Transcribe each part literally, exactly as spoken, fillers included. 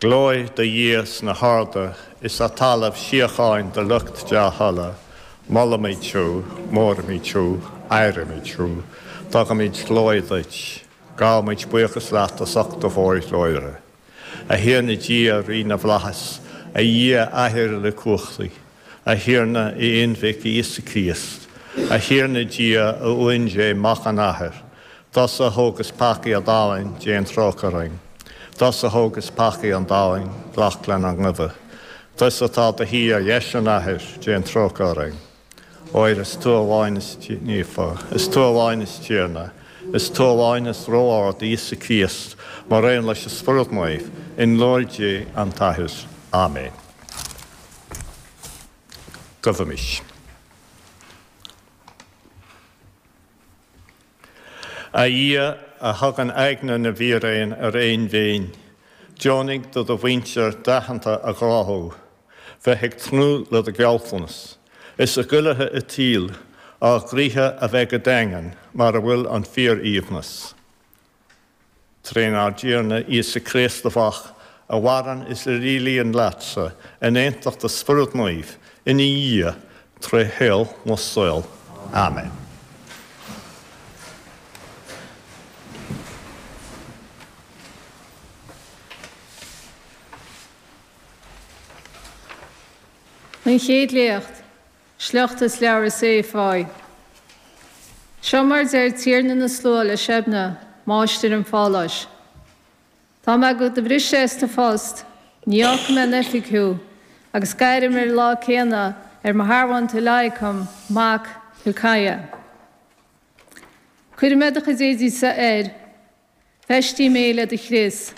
Glóir do Dhia sna harda is ar talamh síocháin do lucht dea-thola, Molaimid thú, móraimid thú, adhraimid thú, tugaimid glóir duit, gabhaimid buíochas leat as ucht do mhórghlóire. A Thiarna Dia rí na bhflaitheas, a Dhia Athair uilechumhachtaigh, a Thiarna a Aonmhic Íosa Críost, a Thiarna Dia a Uan Dé Mac an Athar, Tusa a thógas peacaí an domhain déan trócaire orainn. Tusa a thógas peacaí an domhain, glac lenár nguibhe. Tusa atá i do shuí ar dheis an Athar, déan trócaire orainn. Óir is tú amháin is naofa, is tú amháin is Tiarna, is tú amháin is ró-ard Íosa Críost, mar aon leis an Spiorad Naomh, i nglóir Dé an tAthair. Amen. Guímis. A Dhia a thugann aigne na bhfíréan ar aon mhéin, deonaigh do do mhuintir d'aitheanta a ghráthú, bheith ag tnúth le do ghealltanas, is a gcuilithe i tsaol, ár gcroíthe a bheith go daingean mar a bhfuil an fíor-aoibhneas. Trínár dTiarna Íosa Críost do Mhac, a mhaireann is a rialaíonn leatsa in aontacht an Spioraid Naoimh, ina Dhia, tré shaol na saol. Amen. An chéad léacht, sliocht as leabhar Isaia fáidh. Seo mar deir Tiarna na Slua le Seibne, máistir an pháláis. Tá mé do do bhriseadh as do phost, ní fhágfaidh mé in oifig thú, agus gairfidh mé ar an lá céanna ar mo shearbhónta Eliacim, mac Hilciah. Cuirfidh mé do chuid éadaí-sa air, feistífidh mé é le do chrios,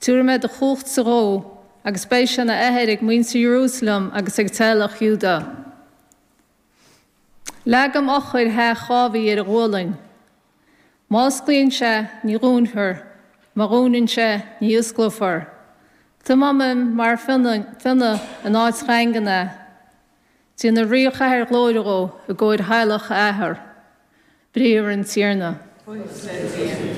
tabharfaidh mé do chumhachtsa dhó, agus beidh sé ina athair ag muintir Iarúsailéim agus ag teaghlach Iúdá. Leagaim eochair theach Dháiví ar a ghualainn. Má osclaíonn sé, ní dhúnfar, má dhúnann sé, ní osclófar. Tiománfaidh mar phionna in áit dhaingean é. Déanfaidh ríchathaoir ghlóire dhó i gcomhair theaghlach a athar. Briathar an Tiarna. Buíochas le Dia.